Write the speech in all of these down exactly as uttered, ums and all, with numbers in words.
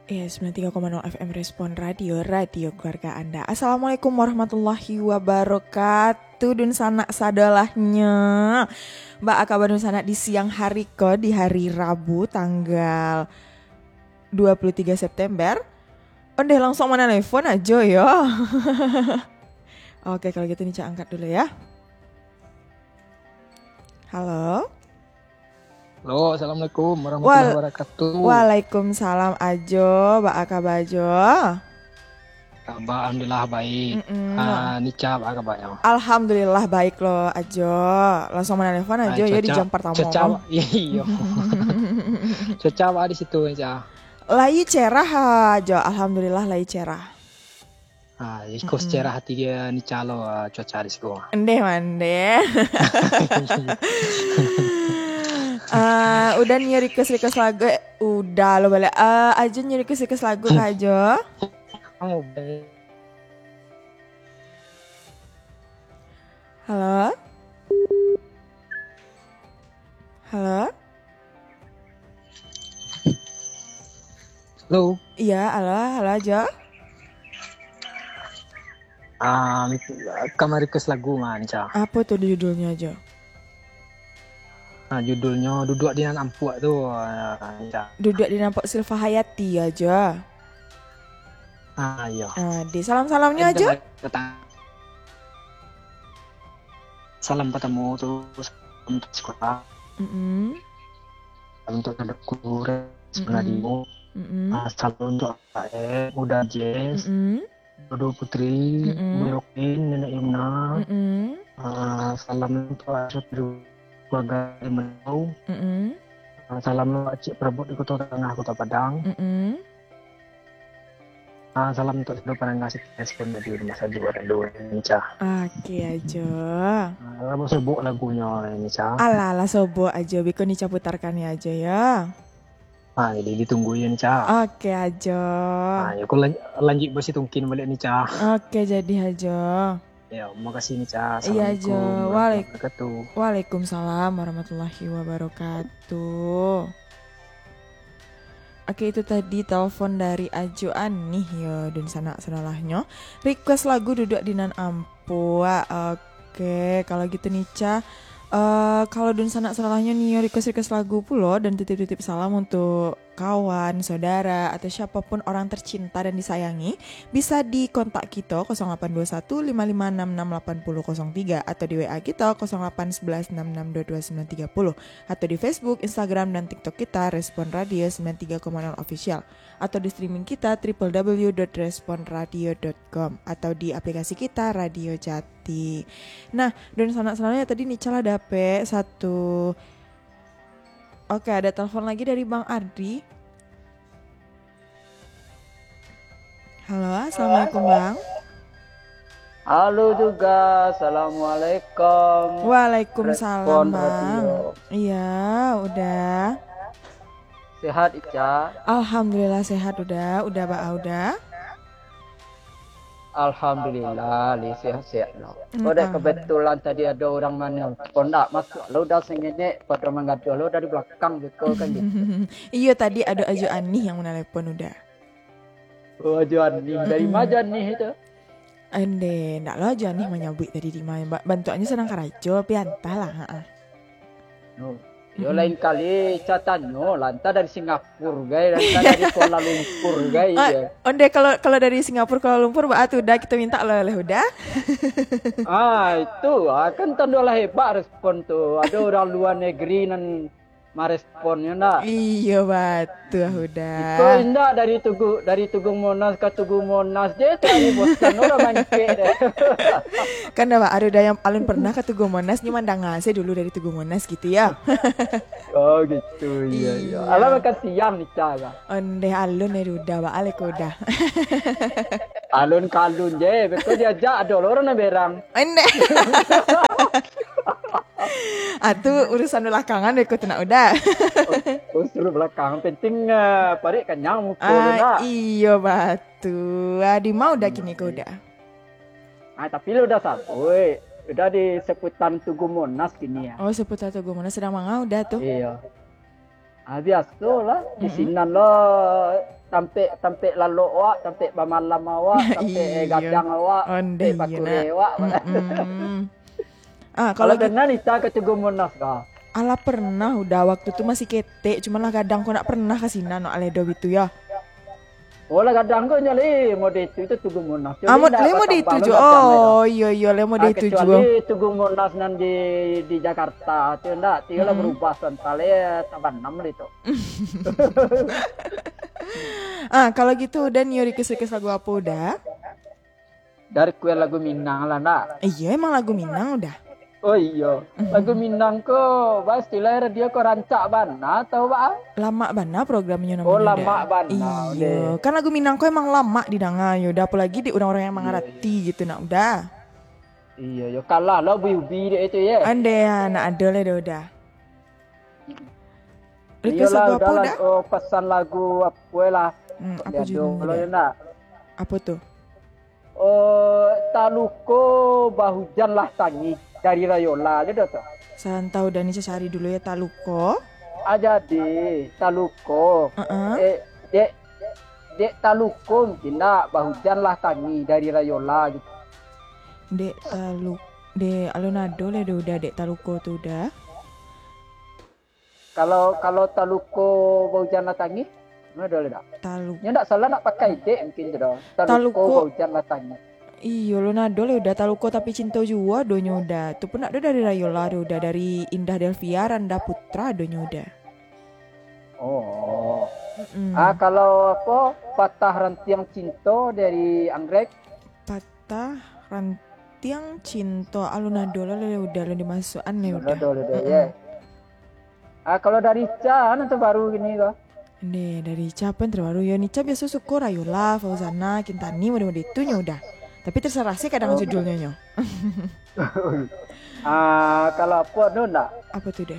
Eh, sembilan tiga koma nol F M Respon Radio, radio keluarga Anda. Assalamualaikum warahmatullahi wabarakatuh, dunsanak sadolahnyo. Baa kaba dunsanak di siang hari ko, di hari Rabu, tanggal dua puluh tiga September? Ondeh, langsung manalepon ajo yo. Oke, kalau gitu Nica angkat dulu ya. Halo. Halo, assalamualaikum warahmatullahi Wal- wabarakatuh. Waalaikumsalam ajo, baa kaba ajo? Kaba alhamdulillah baik. Mm-mm. Ah, Nica baa kabanyo? Alhamdulillah baik lo ajo. Langsung manalepon ajo yo di jam pertamo. Cuaca, iyo. Cuaca baa di situ, Nica? Lai cerah ajo, alhamdulillah lai cerah. Ah, iko sejarah hati dia ni calo, ah, cuaca di siko. Ndeh mandeh. Ah, udah nio request-request lagu, eh, udah lo baliak. Ah, Ajo nio request-request lagu kah, Ajo? Halo? Halo? Halo. Iya, halo, halo Ajo. Ah, ka ma-request lagu mah, Nica. Apo tu judulnyo, Ajo? Ah, judulnyo Duduak di Nan Ampuak tu, ah, Nica. Duduak di Nan Ampuak Silva Hayati, Ajo. Ah, iyo. Ah, di salam-salamnyo, Ajo. Salam pertamo tu, salam untuk sekolah. Mm-mm. Salam untuk saudaraku, Res, Mm-mm. Nadio. Mm-mm. Ah, salam untuk Aek, Uda Jess, Mm-mm. Dodo Putri, Mm-mm. Bu Yokin, Nenek Yumna. Mm-mm. Ah, salam untuk Asyik keluarga di Menau. Mm-mm. Ah, salam untuk Acik Prabot di Kota Tangah, Kota Padang. Mm-mm. Ah, salam untuk seluruh pendengar Siti Respon Radio di masa juo rindu, Nica. Oke, Ajo. Ah, lah sobok lagunyo, Nica. Alah, lah sobok Ajo. Biko Nica putarkan yo, Ajo, yo. Ah, jadi ditunggu yo, Nica. Oke, Ajo. Ah, yo, aku lan-, lanjut basitungkin baliak, Nica. Oke, jadi, Ajo. Ya, makasih, Nica. Iya, Ajo. Assalamualaikum warahmatullahi wabarakatuh. Waalaikumsalam warahmatullahi wabarakatuh. Oke, itu tadi telepon dari Ajo Anih, yo, dunsanak sadolahnyo. Request lagu Duduak di Nan Ampuak. Oke, kalau gitu, Nica, eh, kalau dunsanak sadolahnyo nio request-request lagu pulo dan titip-titip salam untuk kawan, saudara, atau siapapun orang tercinta dan disayangi, bisa di kontak kito kosong delapan dua satu lima lima enam enam delapan nol kosong tiga atau di W A kito kosong delapan sebelas enam enam dua dua sembilan tiga puluh, atau di Facebook, Instagram, dan TikTok kita, Respon Radio sembilan tiga koma nol Official, atau di streaming kita, triple W dot respon radio dot com, atau di aplikasi kita, Radio Jati. Nah, dunsanak sadolahnyo, tadi Nica lah dapek satu. Oke, ada telepon lagi dari Bang Ardi. Halo, assalamualaikum, Bang. Halo juga, assalamualaikum. Waalaikumsalam, Respon Bang. Radio. Iya, udah. Sehat, Ica? Alhamdulillah sehat, udah. Udah, Bang, udah. Alhamdulillah, li sehat-sehat lo. Mm, Kok dek alhamdulillah. Kebetulan tadi ado urang manelpon, dak masuak lo udah sengenek, pada manggaduah lo dari belakang gitu kan gitu. Iyo, tadi ado Ajo Anih yang menelepon udah. Oh, Ajo Anih. Dari Mm-mm. ma Ajo Anih itu? Ende, ndak lo Ajo Anih manyabuik tadi di ma. Ba-, bantuaknyo sadang karajo, tapi antahlah, ha-ah. No. Yo, Mm-mm. lain kali Ica tanyo lah, antah dari Singapura gai, antah dari Kuala Lumpur gai, Ah, yo. Onde, kalau, kalau dari Singapura, Kuala Lumpur, baa tu, udah kito minta oleh-oleh, udah? Ah, itu, ah, kan tando lah hebat Respon tu. Ado urang lua negeri nan marespon, yo ndak? Iyo, batua, udah. Iko indak dari Tugu, dari Tugu Monas ka Tugu Monas je, cari bosan urang mancek deh. Kan dah, Bang, ado dah yang alun pernah ka Tugu Monas, nyo mandanga se dulu dari Tugu Monas gitu, yo. Oh, gitu, iyo, iyo. Iyo. Alah, makan siang Ica lah. Ondeh, alun, eh, udah, Bang, alek udah. Alun ka alun je, beko diajak ado lo urang nan berang. Ondeh. Ah, tu urusan belakangan, beko tu nak udah. Oh, urusan belakang. Penting, eh, parik kanyang muko tu Ah, nak. Iyo, batua. Ah, di ma udah kini ko udah? Ah, tapi lo udah sabuik. Udah di seputar Tugu Monas kini ya. Oh, seputar Tugu Monas, sadang manga udah tu? Iyo. Ah, biaso lah. Di Mm-mm. sinan lo tampek, tampek lalok awak, tampek bamalam awak, tampek, eh, gadang awak, tampek bakureh awak. Ah, kalau gitu, pernah Nica ka Tugu Monas ka? Alah, pernah Uda, waktu tu masih ketek, cuman lah gadang ko ndak pernah ka sinan, no, aleh do bitu yo. Oh, lah gadang ko nyo leh mode itu, itu Tugu Monas. Ah, mode itu jo. Oh, iyo, iyo, leh mode itu jo. Kecuali Tugu Monas nan di, di Jakarta tu ndak, tu lah berubah santai, eh, tabanam lah itu. Ah, kalau gitu Uda nio request-request lagu apo Uda? Dari kue lagu Minang lah, ndak? Iyo, emang lagu Minang Uda. Oh iyo, lagu Minang ko, bah, istilah radio ko rancak bana atau bah? Lamak bana programnyo namonyo Uda. Oh, lamak bana. Iyo, kan lagu Minang ko emang lamak didanga yo Uda, apolagi di urang-urang yang mangarati gitu nak Uda. Iyo, yo kalah lah Ubi-Ubi dek itu ye. Ande, ah, nak ado lah Uda. Request lagu apo Uda? Oh, pesan lagu apo lah? Hmm, apo judulnyo Uda? Apo tu? Oh, Taluko Bahujan Lah Tangih dari Rayola je dah tu. Santau Uda, Nica cari dulu yo, Taluko. Ah, jadi, Taluko. Heeh. Eh, dek, dek Taluko mungkin ndak, Bahujan Lah Tangih dari Rayola gitu. Dek Talu-, dek alun ado lah Uda, dek Taluko tu Uda. Kalau, kalau Taluko Bahujan Lah Tangih, mano ado lai dak? Talu- Nyo ndak salah nak pakai dek mungkin tu dah. Taluko Taluko. Bahujan Lah Tangih. Iyo, alun ado lai Uda, Taluko Tapi Cinto juo adonyo Uda. Tu pun ndak ado dari Rayola doh Uda, dari Indah Delvia, Randa Putra adonyo Uda. Oh. Mm-mm. Ah, kalau apo, Patah Rantiang Cinto dari Anggrek? Patah Rantiang Cinto, alun ado lah, lah Uda, alun dimasuakan lah Uda. Alun ado lah Uda, mm-mm, ye. Ah, kalau dari Ica, nan terbaru kini ko? Ndeh, dari Ica apo yang terbaru? Yo, Nica biaso suko Rayola, Fauzana, Kintani, mode-mode itu nyo Uda. Tapi terserah se kadang judulnyo nyo. Ah, kalau apo ado ndak? Apo tu Uda?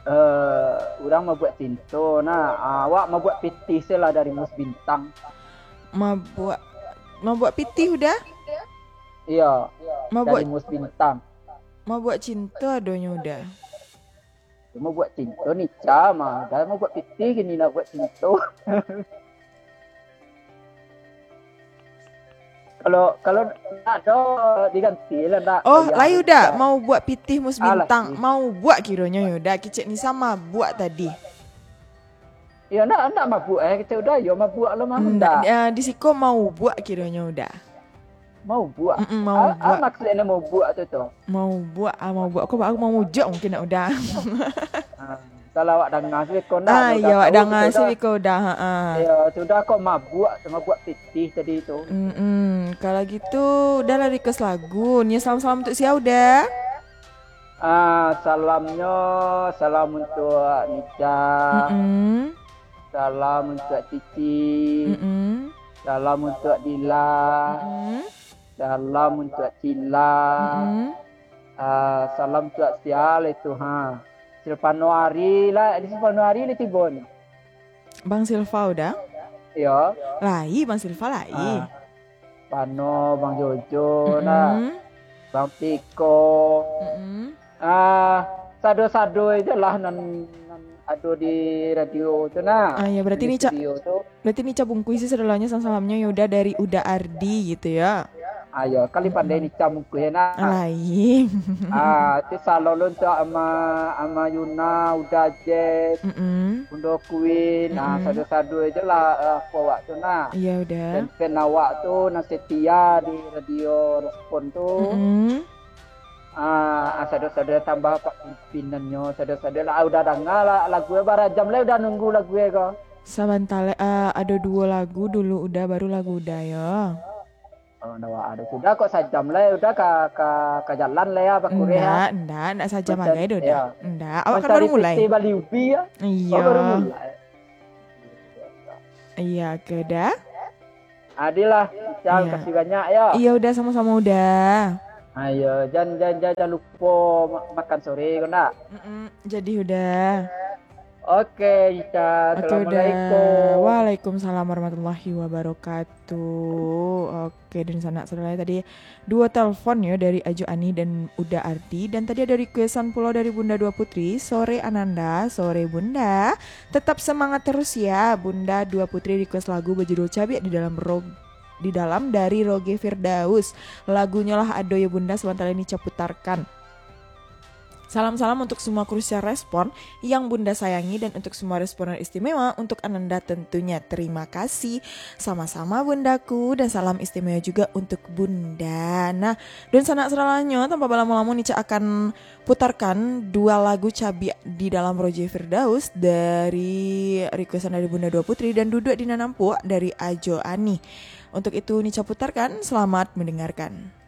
Eh, urang mabuak cinto, nah, awak mabuak pitih se lah dari Mus Bintang. Mabuak, mabuak pitih Uda? Iyo, mabuak dari Mus Bintang. Mabuak cinto adonyo Uda. Mabuak cinto Nica mah, dah mabuak pitih kini nak buak cinto. Kalau, kalau ndak ado, diganti lah ndak. Oh, lai Uda, mau buak pitih Mus Bintang, mau buak kironyo yo Uda, kecek Nica mabuak tadi. Iyo, ndak, ndak mabuak eh, kecek Uda yo mabuak lo mah ndak. Ndak, eh, di siko mau buak kironyo Uda. Mau buak? Mm-mm, mau buak. Maksudnyo mau buak tu tu? Mau buak, ah, mau buak. Ko baa mau mujak mungkin nak Uda. Ah, salah awak danga se beko ndak. Ah, iyo, awak danga se beko Uda, ha ah. Iyo, sudah ko mabuak, mabuak pitih tadi tu. Mm-mm. Kalau gitu, Uda lah request lagu. Nio salam-salam untuk sia Uda? Ah, salamnyo, salam untuk Nica. Mm-mm. Salam untuk Cici. Mm-mm. Salam untuk Dila. Mm-mm. Salam untuk Cila. Mm-mm. Ah, salam untuk sia itu ha. Silvano Ari lah, di Silvano Ari lah tibo nyo. Bang Silva Uda? Iyo. Lai, Bang Silva lai. Ah. Pano, Bang Jojo, nah. Mm-mm. Bang Tiko. Mm-mm. Ah, sado-sado aja lah nan, nan ado di radio tu, nah. Ah, ya, berarti di Nica, studio tu. Berarti Nica bungkuih se sadonyo salam-salamnyo, yo Uda, dari Uda Ardi gitu ya. Ayo, kali pandai Nica bungkuih, nah. Lain. Ah, tu salam lo untuk ama, ama Yuna, Uda Jess, mm-mm, Undo Queen, nah, mm-mm, sado-sado aja lah, eh, apo awak tu, nah. Iya, Uda. Fan-fan awak tu, nan setia di Radio Respon tu. Mm-mm. Ah, ah, sado-sado tambah Pak pimpinannyo, sado-sado lah, ah, Uda danga lah lagu e, bara jam lai Uda nunggu lagu e ko. Sabanta lai, ah, ado duo lagu dulu Uda, baru lagu Uda yo. Oh, ndak ado sudah kok, sajam lai Uda ka, ka, ka jalan lai ya, bakureh ya. Ndak, ndak, ndak sajam agai doh, Uda. Ndak, awak kan baru mulai. Mancari piti bali ubi ya. Iyo. Oh, baru mulai. Iyo, oke, Uda. Adilah, Ical, kasih banyak, yo. Iyo, Uda, samo-samo, Uda. Ayo, jan, jan, jan, jan lupo ma-, makan sore, ko ndak? Mm-mm, jadi, Uda. Oke, Ica. Oke, Uda. Waalaikumsalam warahmatullahi wabarakatuh. Oke, dan sanak saudara tadi dua telepon yo dari Ajo Ani dan Uda Ardi, dan tadi ada requestan pulo dari Bunda Dua Putri. Sore Ananda, sore Bunda. Tetap semangat terus ya. Bunda Dua Putri request lagu berjudul Cabiak di dalam rog di dalam dari Roge Firdaus. Lagunyo lah ado yo Bunda, sebentar ini Ica putarkan. Salam-salam untuk semua kru Siar Respon yang Bunda sayangi dan untuk semua responden istimewa, untuk Ananda tentunya. Terima kasih. Sama-sama Bundaku, dan salam istimewa juga untuk Bunda. Nah, dan sanak saralanyo, tanpa balamo-lamo ni, Ica akan putarkan dua lagu Cabiak di dalam Roge Firdaus dari requestan dari Bunda Dua Putri dan Duduk di Nan Ampuak dari Ajo Ani. Untuk itu ni Ica putarkan, selamat mendengarkan.